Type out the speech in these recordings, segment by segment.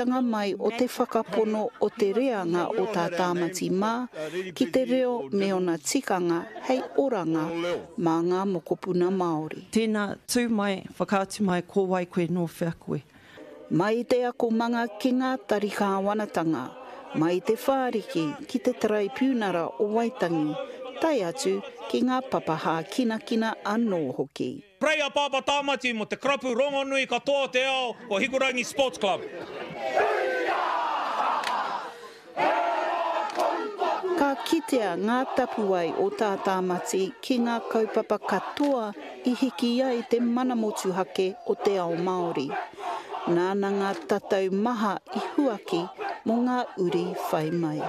Tanga mai o te whakapono o te reanga o Tā Tāmati mā ki te reo me ona tikanga hei oranga mā ngā mokopuna Māori. Tēnā, tū mai, whakaatu mai ko wai koe, nō whea koe. Mai i te akomanga ki ngā tari kāwanatanga, mai i te whāriki ki te Taraipiunara o Waitangi, tae atu ki ngā papa hākinakina anō hoki. Pray a Papa Tamati mo te karapu rongonui katoa o te ao ko Hikurangi Sports Club. Ka kitea ngā tapuwae o Tā Tāmati ki ngā kaupapa katoa i hiki ai te mana motuhake o te ao Māori. Nāna ngā tatau maha i huaki mō ngā uri whai mai.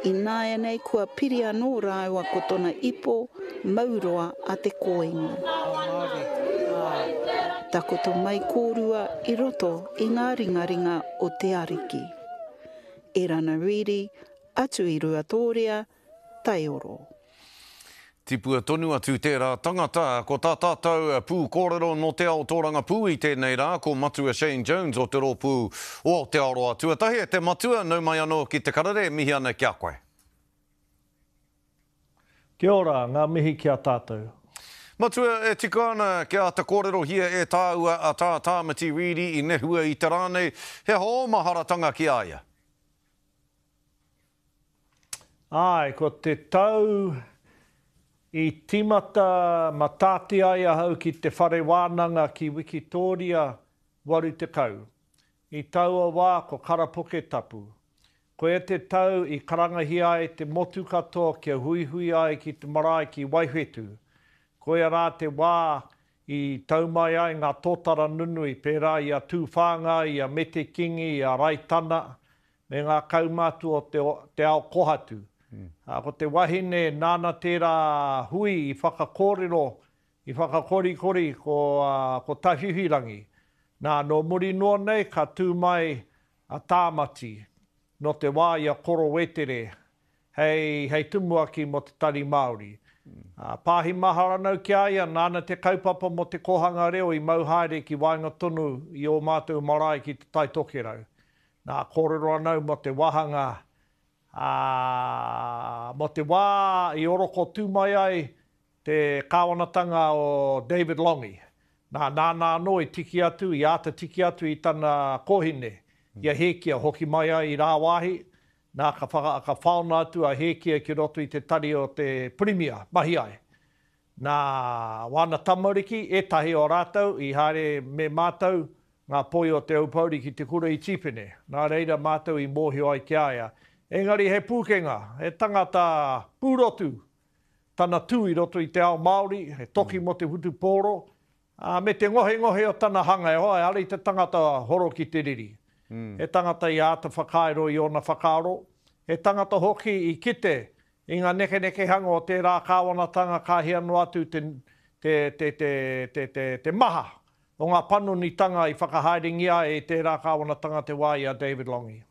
Ināianei kua piri anō rāua ko tona ipo mauroa a Te Kōingo. Takoto mai kōrua i roto i ngā ringaringa o te Ariki. Erana Reedy, atu i Ruatōrea, Taioro. Tipua tonu atu tērā tangata. Ko tā tātou pūkōrero nō te ao tōrangapū i tēnei rā, ko Matua Shane Jones o te rōpū o Aotearoa Tuatahi. E te Matua, nau mai anō ki te karere, e mihi ana ki a koe. Kia ora, ngā mihi ki a tātou. Matua, e tika ana kia āta kōrerohia e tāua a Tā Tāmati Reedy i nehua i te rā nei, he aha ō maharatanga ki a ia? Āe, ko te tau i tīmata matāti ai ahau ki te whare wānanga ki Wikitōria 80. I taua wā ko Karapoke Tapu. Koia te tau i karangahia ai te motu katoa kia huihui ai ki te marae ki Waiwhetū. Koia rā te wā i tau mai ai ngā tōtara nunui pērā i a Tūwhāngai, i a Mete Kingi, i a Raitana, me ngā kaumātua o te, te ao kohatu. Ko te wahine nāna tērā hui i whakakōrero, i whakakorikori ko, ko Tawhiwhirangi. Nā, nō muri noa nei ka tū mai a Tāmati, nō te wā i a Koro Wetere hei, hei tumuaki mō te Tari Māori. Pāhi Maharanau ki a ia, nāna te kaupapa mō te kōhanga reo i mau haere ki waenga tonu i ō mātou marae ki Te Tai Tokerau. Nā, kōrero ana au mō te wāhanga, ā, mō te wā i oroko tū mai ai te kāwanatanga o David Lange. Nā, nāna anō i tiki atu, i āta tiki atu i tana kōhine, i a Hēkia, hoki mai ai i rāwāhi, nā, ka whaka, ka whaona atu a Hēkia ki roto i te tari o te Pirimia, mahi ai. Nā, wāna tamariki, ētahi o rātou i haere me mātou, ngā poi o Te Aupōuri ki te kura i Tīpene, nā reira mātou i mōhio ai ki a ia. Engari he pūkenga, he tangata pūrotu tana tū i roto i te ao Māori, he toki mō te whutupōro, ā, me te ngohengohe o tana hanga, e hoa, ehara i te tangata horo ki te riri. He tangata i āta whakairo i ōna whakaaro, he tangata hoki i kite i ngā nekenekehanga o tērā kāwanatanga ka hia noa atu te, te, te, te, te, te, te maha o ngā panonitanga i whakahaerengia ai e tērā kāwanatanga te wā i a David Lange.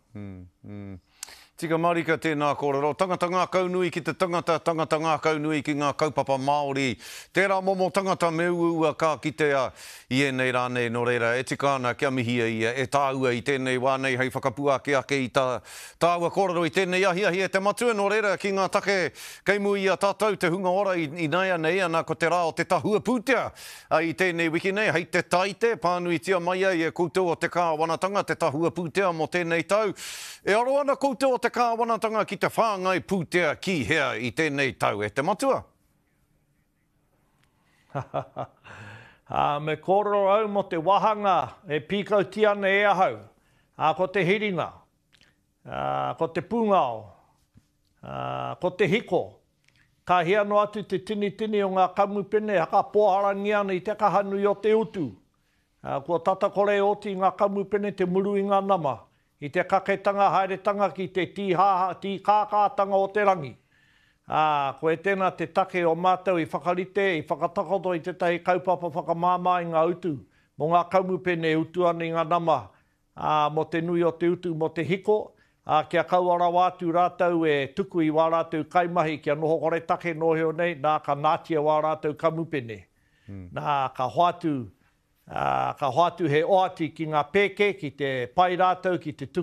Tika marika tēnā kōrero. Tangata ngākaunui ki te tangata, tangata ngākaunui ki ngā kaupapa Māori. Tērā momo tangata me uaua ka kitea i ēnei rā nei, nō reira, e tika ana kia mihia ia e tāua i tēnei wā nei hei whakapuaki ake i tā tāua kōrero i tēnei ahiahi e te matua, nō reira, ki ngā take kei mua i a tātou te hunga ora ināianei, ana ko te rā o te tahua pūtea Ā, i tēnei wiki nei, hei te Taite, pānuitia mai ai e koutou o te Kāwanatanga te tahua pūtea mō tēnei tau. E aro ana koutou o te Kāwanatanga ki te whāngai pūtea ki hea i tēnei tau, e te matua? Ā, me kōrero au mō te wāhanga e pīkautia ana e ahau, ā, ko te hiringa, ā, ko te pūngao, ā, ko te hiko, Ka hia noa atu te tinitini o ngā kamupene e hakapoharangia ana i te kaha nui o te utu. Kua tata kore e oti i ngā kamupene te muru i ngā nama, i te kaketanga haeretanga ki te tīhāhā, tīkākātanga o te rangi. Ā, koe tēnā te take o mātou i whakarite, i whakatakoto i tētahi kaupapa whakamāmā i ngā utu mō ngā kamupene e utu ana i ngā nama ā, mō te nui o te utu mō te hiko, ā, kia kaua rawa atu rātou e tuku i wā rātou kaimahi kia noho koretake nōhio nei, nā, ka nātia wā rātou kamupene. Nā, ka hoatu, Ā, ka hoatu he oati ki ngā pēke, ki te pai rātou ki te tuku.